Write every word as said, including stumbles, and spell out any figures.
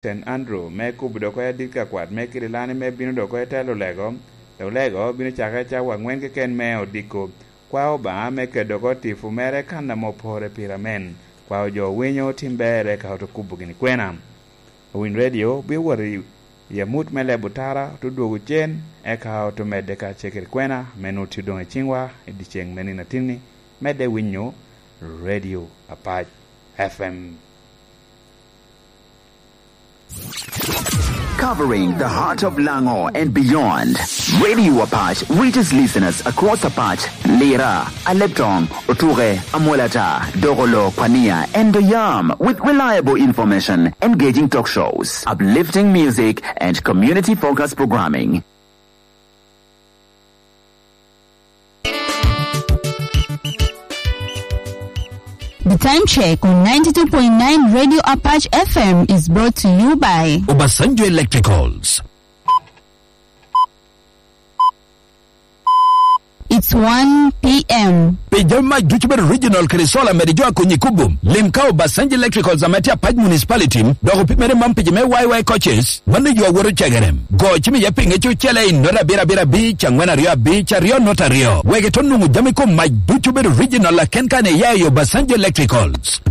Saint Andrew, me kubo dok oko adit ka kwat me Kirilani me bino dok oko i telo Lego, dok Lego bino cakere cawa angwen keken me odiko. Kwa Obaŋa me kedo oko tipo mere kan ame opore pire amen. Kwa ojo owinyo tim ber eka oto kubo gini kwena. Owiny Radio bino wot i, i amut me lebo tara, oto dwogo cen, eka oto medde ka cekere kwena, me nwoŋo tye doŋ i ciŋwa i dyeceŋ me nino atinni, medde winyo Radio Apac F M. Covering the heart of Lango and beyond, Radio Apache reaches listeners across Apache, Lira, Aleptong, Otuke, Amolata, Dogolo, Kwania, and Doyam with reliable information, engaging talk shows, uplifting music, and community-focused programming. The time check on ninety-two point nine Radio Apache F M is brought to you by Obasanjo Electricals. It's one p.m. Pi jami mac ducu bedo original kede solar mede jo akonyi kubo. Lim ka Obasanjo Electricals ame tye Apac Municipality, dok opimere man pi jo me Y Y coaches, mano yo awoto cegere. Go cim iye pinge cucele i nota abiro abiro abic, angwen aryo abic, aryo nota aryo. Wek ito nwoŋo jami kom mac ducu bedo original aken kan iya i Obasanjo Electricals.